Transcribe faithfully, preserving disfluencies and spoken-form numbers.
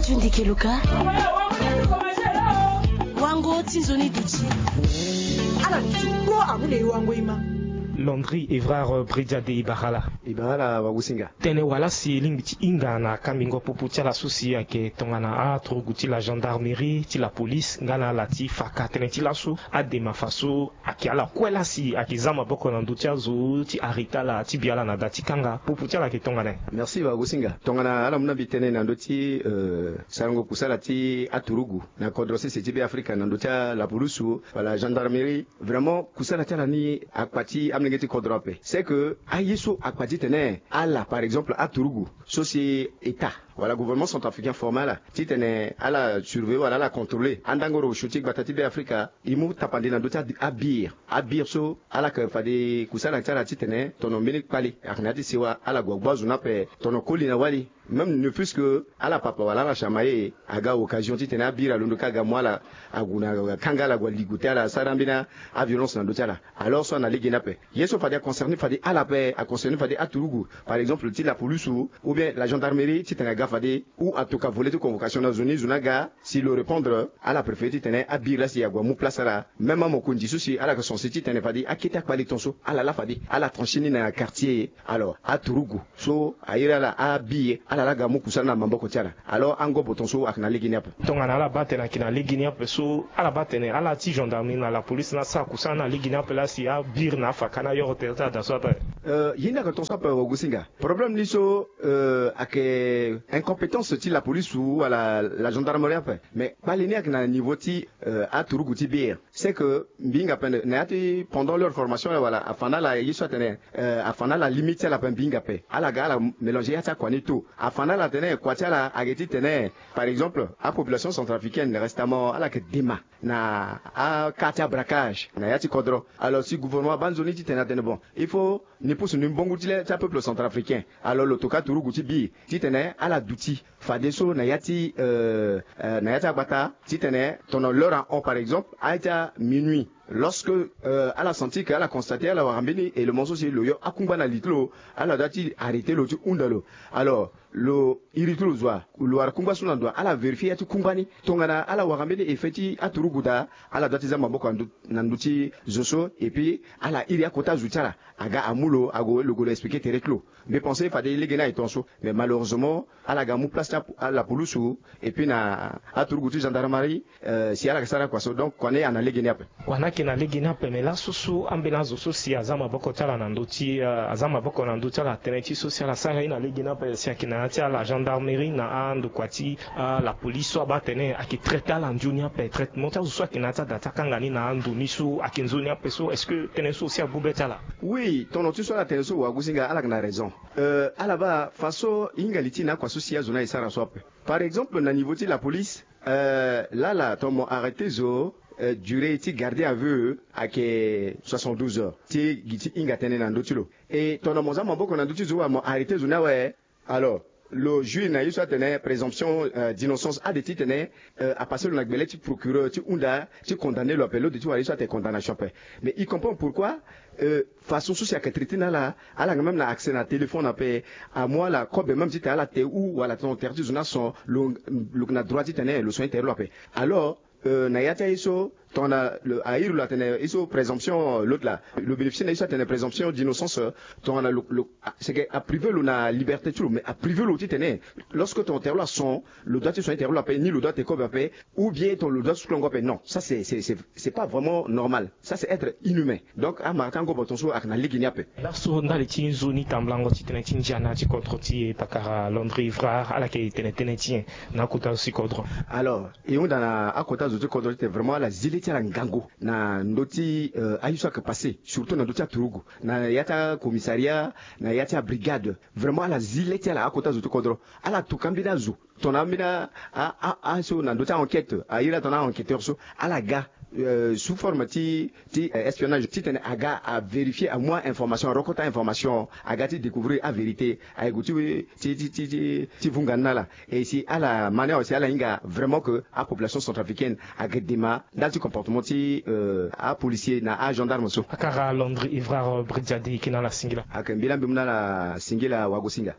Tindikeluka. Wango ti nzoni duti. Ala duti kpo amu na e wango e ma. Landry Evrard Bridia de Ibarala. Ibarala wagusinga. Tënë wala si e lingbi ti hinga na kambingo popo ti ala so si ayeke tongana aturugu ti la gendarmerie ti la police nga na ala ti faka tënë ti laso adema fa so ayeke ala kue lasi ayeke za maboko na ndö ti azo ti arrêter ala ti bi ala na da ti kanga popo ti ala ayeke tongana nyen? Merci wagusinga. Tongana ala mu na mbi tënë na ndö ti euh, sarango kusala ti aturugu na kodro sese ti Beafrika na ndö ti ala pulusu wala gendarmerie. Vraiment kusala ti ala ni akpa ti amolenge ti kodro ape. C'est que aye so akpa titene ala par exemple aturugu so si état wala gouvernement centrafricain forme ala titene ala surveiller wala ala contrôler andangoro osio ti gbata ti Beafrika. E mu tapande na ndö ti abi- abir abir so ala yeke fade kusala ti ala titene tono mbeni kpali ayeke na ya ti sewa ala gue agbu azo ni ape tono koli na wali. Même ne plus que ala papa wala ala chamaye aga occasion titene abiri alondo ka aga mu ala ague na kanga ala gue aligo ti ala asara mbeni aviolence na ndö ti ala. Alors so ana lege ni ape ye so fade aconcerné fade ala ape aconcerné fade aturugu par exemple ti la police ou bien la gendarmerie titene aga fade ou atoka volet ti convocation na zo ni zo ni aga si lo répondre ala préféré titene abiri lasi ague amu place ala. Même amokonzi so si ala yeke censé titene fade akete akpali ton so ala la fade ala tranché ni na quartier. Alors aturugu so airi ala abi ye ala la ga mu kusala na maboko ti ala. Alors angobo ton so ayeke na lege ni ape. Tongana ala baa tene ayeke na lege ni ape so ala baa tene ala ti gendarmerie na la police na asara kusala na lege ni ape lasi abiri na afaka na ayoro tere ti ada so ape. Euh, ye ni ayeke ton so ape wagusinga. Problème ni so euh, ayeke incompétence ti la police ou wala la gendarmerie ape. Mais kpali ni ayeke na niveau ti euh, aturugu ti bir. C'est que mbi hinga ape na ya ti pendant leur formation la wala afa na ala ye so atene euh, afa na ala limite ti ala ape mbi hinga ape ala ga ala mélanger ya ti akua ni tôt. Afa na ala atene kua ti ala ayeke titene par exemple apopulation centrafricaine récemment ala yeke dema na aquart ti abraquage na ya ti kodro. Alors si gouvernement abaa nzoni titene atene bon il faut ni pusu ni mbongo ti le ti apeuple centrafricain. Alors lo toka turugu ti bi titene ala duti fadeso na ya ti euh, euh, na ya ti agbata titene tono l'heure ahon par exemple aye ti aminuit lorsque euh, ala senti que ala constaté ala wara mbeni élément so si lo yo akungba na li ti lo. Ala dua ti arrêté lo ti hunda lo. Alors lo iri ti lo zo wa lo wara kungba so na ndo wa ala vérifié ya ti kungba ni tongana ala wara mbeni effet ti aturugu daa. Ala dua ti za maboko na ndö ti zo so et puis ala iri akota zo ti ala aga amu lo ague lo gue lo expliqué tere ti lo. Mbi pensé fade lege ni aye ton so mais malheureusement ala ga mu place ti ala pulusu et puis na aturugu ti gendarmerie. Euh, si ala yeke sara kua so donc kua ni ana lege ni ape. Kua ni ayeke na lege ni ape mais laso so ambeni azo so si aza maboko ti ala na ndö ti euh, aza maboko na ndö ti ala tënë ti so si ala sara ye na lege ni ape si ayeke na ya ti ala gendarmerie na andokua ti euh, la police so abaa tene ayeke traité ala nzoni ape traitement ti azo so ayeke na ya ti ada ti akanga ni na ando ni so ayeke nzoni ape so est-ce que tënë so aussi agbu be ti ala? Oui tono ti so ala tene so wagusinga ala yeke na raison. Euh, ala baa façon e hinga li ti na akua so si azo ni aye sara so ape. Par exemple na niveau ti la police euh, lala ton mo arrêté zo euh, durée ti garder à vue ayeke soixante-douze heures ti gi ti hinga tënë na ndö ti lo. Et ton na mo za maboko na ndö ti zo wa mo arrêté zo ni awe. Alors lo juge na ye so atene présomption euh, d'innocence ade titene euh, apassé lo na gbele ti procureur ti hunda ti condamné lo ape lo de ti wara ye so atene condamnation ape. Mais il comprend pourquoi euh, façon so si ayeke traité na ala ala yeke même na accès na téléphone ape. Amu ala kobe même titene ala te ou wala tongana tere ti zo ni ason lo lo yeke na droit titene lo soigné tere lo ape. Alors euh, na ya ti aye so tongana lo airi lo atene ye so présomption euh, l'autre là lo bénéficié na ye so atene présomption d'innocence euh, tongana lo lo ah, c'est que aprivé lo na liberté ti lo mais aprivé lo titene lorsque tongana tere lo ason lo doit ti soigné tere lo ape ni lo doit te kobe ape ou bien tongana lo doit ti sukulango ape non ça c'est c'est c'est c'est pas vraiment normal. Ça c'est être inhumain. Donc amara ti angobo ton so ayeke na lege ni ape. Laso ndali ti nzoni tambulango ti tënë ti ndia na ya ti kodro ti e pakara Landry Evrard ala yeke tene tënë ti nyen na akota zo ti kodro? Alors e hunda na akota zo ti kodro titene vraiment ala zi le ti ala ngangu na ndö ti euh, aye so ayeke passé surtout na ndö ti aturugu na ya ti acommissariat na ya ti abrigade. Vraiment ala zi le ti ala akota zo ti kodro ala tuka mbeni azo tongana ambeni a- a- a- aso na ndö ti a-enquête airi atongana a-enquêteur so ala ga euh, sous forme ti ti euh, espionnage titene aga avérifié amu a-information arokota information aga ti découvrir avérité aye gue ti ti ti ti ti ti vunga ni na ala. Et si ala ma ni awe si ala hinga vraiment que apopulation centrafricaine ayeke dema ndali ti comportement ti euh, apolicier na agendarme so. Akara Landry Evrard Bridia de e yeke na ala singila. Ayeke mbi la mbi mu na ala singila wagosinga.